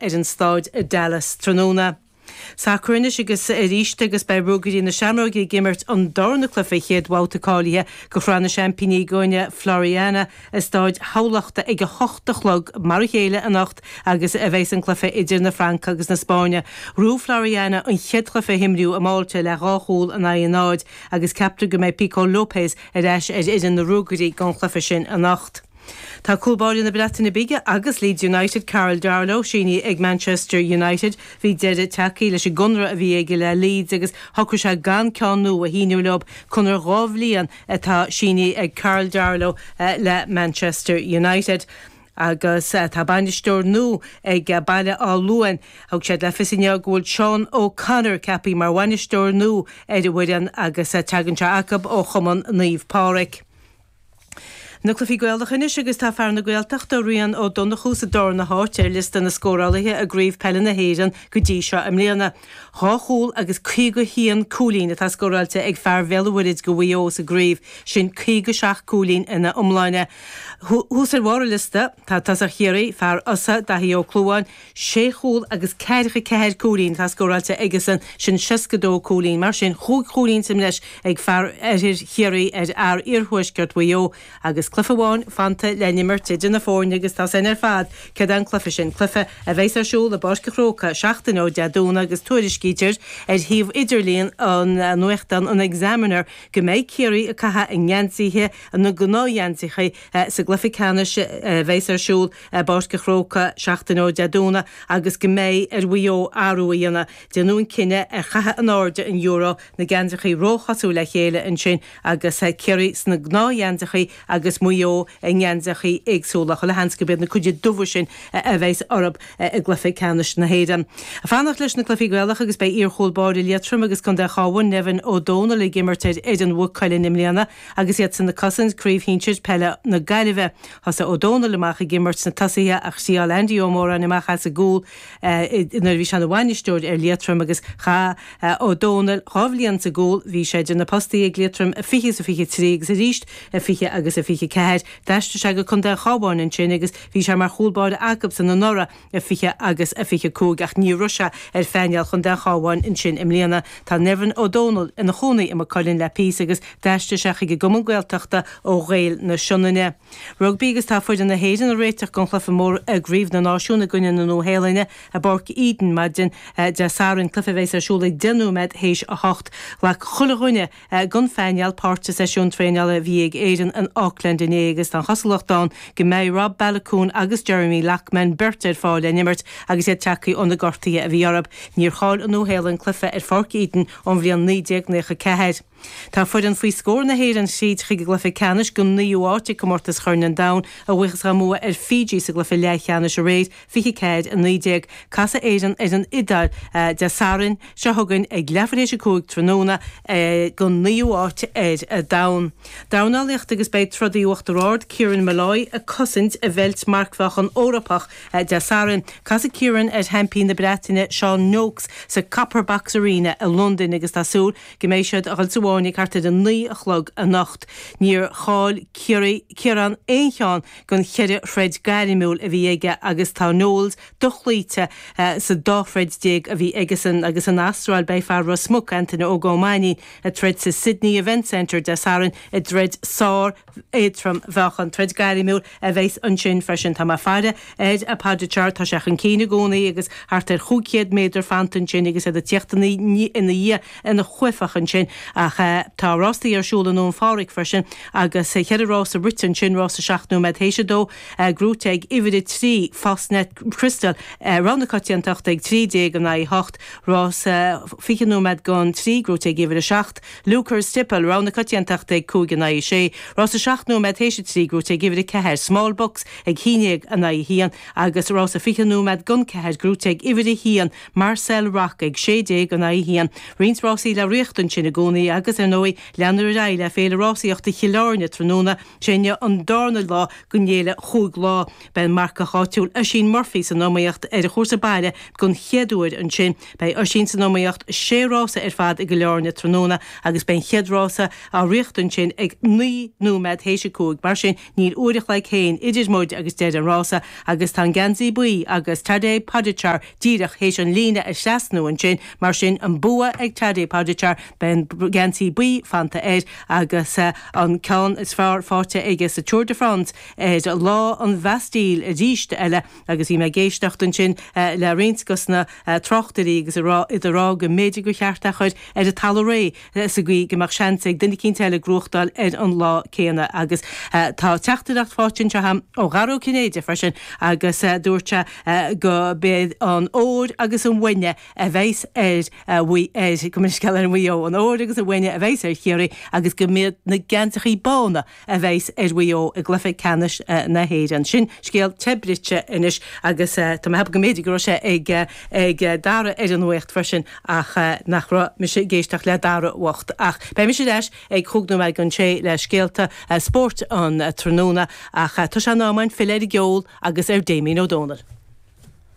ar an staid i Dallas tráthnóna. Sacar anois agus arís agus beidh Ruagairí na Seamróige ag imirt an darna cluiche chéad bhabhta cáilithe go Shraith na Seaimpíní i gcoinne Floriana i Stáid Thamhlachta ag 8 a chlog mar a chéile anocht agus a bheas an cluiche idir na Fraince agus na Spáinne. Ghnóthaigh Floriana an chéad chluiche a himríodh i Málta le 2 chúl in aghaidh a 0 agus ceaptar go mbeidh Pico Lopes ar ais ar fhoireann na Ruagairí don chluiche sin anocht. Tá cúl báire na Breataine Bige agus Leeds United, Karl Darlow, sínithe ag Manchester United. Bhí deireadh tagtha leis an gconradh a bhí aige le Leeds agus shocraigh sé gan ceann nua a shíniú leo. Conradh 2 bhliain atá sínithe ag Karl Darlow le Manchester United. Agus tá bainisteoir nua ag Baile Átha Luain. Thug siad le fios inniu go bhfuil Seán O'Connor ceaptha mar bhainisteoir nua ar an bhfoireann agus tagann sé acu ó Chumann Naomh Pádraig. Na cluichí Gaelacha anois agus tá fear na Gaeltachta, Rian Ó Donnchú sa darna háit ar liosta na scórálaithe i gCraobh Peile na hÉireann go dtí seo i mbliana. 2 chúl agus 51 cúilín atá scóráilte ag fear Bhéal an Mhuirthead go Mhaigh Eo sa gcraobh, sin 57 cúilín ina iomláine. Thuas ar bharr an liosta tá tosach Chiarraí, fear Fhosa, Daithí Ó Clúmháin, Sé chúl agus ceathracha ceathair cúilín atá scóráilte aigesan, sin 62 cúilín. Mar sin, chúig chúilín sa mbreis ag fear oirthear Chiarraí ar fhear iarthuaisceart Mhaigh Eo agus cluiche amháin fanta le n-imirt idir na foirne agus tá san ar fad céard é an cluiche sin, cluiche a bheas ar siúl i bPáirc an Chrócaigh seachtain ó Dé Domhnaigh agus tuairiscítear ar shuíomh idirlíon an nuachtáin an Examiner go mbeidh Ciarraí ag caitheamh a ngeansaithe, na gnáthgheansaithe, sa gcluiche ceannais a bheas ar siúl i bPáirc an Chrócaigh seachtain ó Dé Domhnaigh agus go mbeidh ar Mhaigh Eo athrú a dhéanamh. Déanadh an cinneadh ar chaitheamh in airde an euro, na geansaithe róchosúil le chéile ansin agus Ciarraí sna gnáthgheansaithe agus Maigh Eo i ngeansaithe éagsúla. Chuile sheans gurb iad na cuid dubha sin a bheas orthu i gcluiche ceannais na hÉireann. Fanacht leis na cluichí Gaelacha agus beidh iar-chúl báire Liatroim agus Contae an Chabháin, Nevin Ó Dónaill ag imirt ar fhoireann Mhaigh Cuilinn i mbliana. Agus iadsan ag cosaint Craobh Shinsir Peile na Gaillimhe, thosaigh Ó Dónaill amach ag imirt sna tosaithe ach thriáil Andy Ó Móráin amach as an gcúl nuair a bhí sé ina bhainisteoir ar Liatroim agus chaith Ó Dónaill 2 bhliain sa gcúl. Bhí sé idir na postaí ag Liatroim i 20 is a 23 agus arís i 20 agus a 24. D'aistrigh sé go Contae an Chabháin ansin agus bhí sé mar chúl báire acubsan anuraidh. i 20 agus i 25 ach ní raibh sé ar phainéal Chontae an Chabháin ansin i mbliana. Tá Nevin Ó Dónaill ina chónaí i Maigh Cuilinn le píosa agus d'aistrigh sé chuig an gcumann Gaeltachta ó Ghaeil na Sionainne. Rugbaí agus tá foireann na hÉireann ag réiteach don chluiche mór i gCraobh na Náisiún i gcoinne na Nua-Shéalainne i bPáirc Eden maidin Dé Sathairn, cluiche a bheas ar siúl ag 10 nóiméad théis 8. Ghlac chuile dhuine den phainéal páirt sa seisiún traenála a bhí ag Éirinn in Auckland inné agus tá an chosúlacht ann go mbeidh Rob Baloucoune agus Jeremy Loughman beirt ar fáil le n-imirt agus iad tagtha ó na gortuithe a bhí orthu. Níor chaill an Nua-Shéalainn cluiche ar Pháirc Eden ón bhliain 1994. Tá foireann faoi scór na hÉireann tríd chuig an gcluiche ceannais don naoú háit ag Comórtas Chorn an Domhain a bhuíochas dá mbua ar Fiji sa gcluiche leathcheannais aréir. 24, 19. Casfaidh Éirinn ar an Iodáil Dé Sathairn seo chugainn ag leathuair théis 5 tráthnóna don naoú háit ar domhan. Dornálaíocht agus beidh trodaí Uachtar Ard, Kieran Molloy ag cosaint a bheilt marcmheáchan Eorpach Dé Sathairn. Casfaidh Kieran ar sheaimpín na Breataine Sean Noakes sa Copper Box Arena i Londain agus tá súil go mbeidh siad a dhul sa bhfáinne thart ar a 9 a chlog anocht. Níor chaill Kieran aon cheann den cheithre throid gairmiúil a bhí aige agus tá Noakes dochloíte sa dá throid déag a bhí aigesan agus san Astráil beidh fear Ros Muc, Antaine Óg Ó Mainnín, ag troid sa Sydney Event Centre Dé Sathairn i dtroid sár éadtrom mheáchan. Troid gairmiúil a bheas ansin freisin. Tá mé ag faire ar Pogačar, tá sé chun cinn i gcónaí agus thart ar 500 méadar fanta ansin agus iad ag tíocht ina dhiaidh ina chuaifeach ansin ach tá rástaí ar siúl i nDún Phádraig freisin agus cheithre rása rite ansin, rása 7 nóiméad théis 2, gnóite ag uimhir 3, Fastnet Crystal, rogha na coitiantachta ag 13 in aghaidh 8, rása 20 nóiméad don 3, gnóite ag uimhir 7, Luker's Tipple, rogha na coitiantachta ag 5 in aghaidh 6, rása 7 nóiméad théis 3, gnóite ag uimhir 4, Small Bucks ag 11 in aghaidh 1 agus rása 20 nóiméad don 4, gnóite ag uimhir 1, Marcel Rock ag 16 in aghaidh 1. Roinnt rásaí le ritheacht ansin i gcónaí agus. Agus, ar ndóigh, leanfar ar aghaidh le Féile Rásaíochta Chill Airne tráthnóna, sé inniu an darna lá den fhéile chúig lá. Beidh an marcach áitiúil Oisín Murphy san iomaíocht ar an chúrsa baile don chéad uair ansin. Beidh Oisín san iomaíocht sé rása ar fad i gCill Airne tráthnóna agus beidh an chéad rása á ritheacht ansin ag 9 nóiméad théis a 5. Mar sin, níl uair a chloig féin idir muid agus deireadh an rása agus tá an geansaí buí agus Tadej Pogačar díreach théis an líne a thrasnú ansin. Mar sin, an bua ag Tadej Pogačar, beidh an geansaí buí fanta air agus an ceann is fearr faighte aige sa Tour de France ar lá an Bhastille arís eile agus bhí mé ag éisteacht ansin le roinnt dos na tráchtairí agus iad ag rá go mb'fhéidir gur cheart é a chur ar an talamh réidh sa gcaoi go mbeadh seans ag duine eicínt eile gnóthachtáil ar an lá céanna agus tá teachtaireacht faighte anseo agam ó Dhara Ó Cinnéide freisin agus dúirt sé go b'iad an ór agus an bhainne a bheas ar Mhaigh ar go mbeidh scéal ar Mhaigh Eo an ór agus an bhainne a bheas ar Chiarraí agus go mb'iad na geansachaí bána a bheas ar Mhaigh Eo i gcluiche ceannais na hÉireann. Sin scéal te bruite anois agus tá mé ag ceapadh go mb'fhéidir go raibh sé ag ag Dara ar an nuacht freisin ach nach raibh mise ag éisteacht le Dara bhocht. Ach beidh mise ar ais ag chúig nóiméad don sé le scéalta spóirt an tráthnóna ach tá sé in am againn filleadh ar an gceol agus ar Damien Ó Dónaill.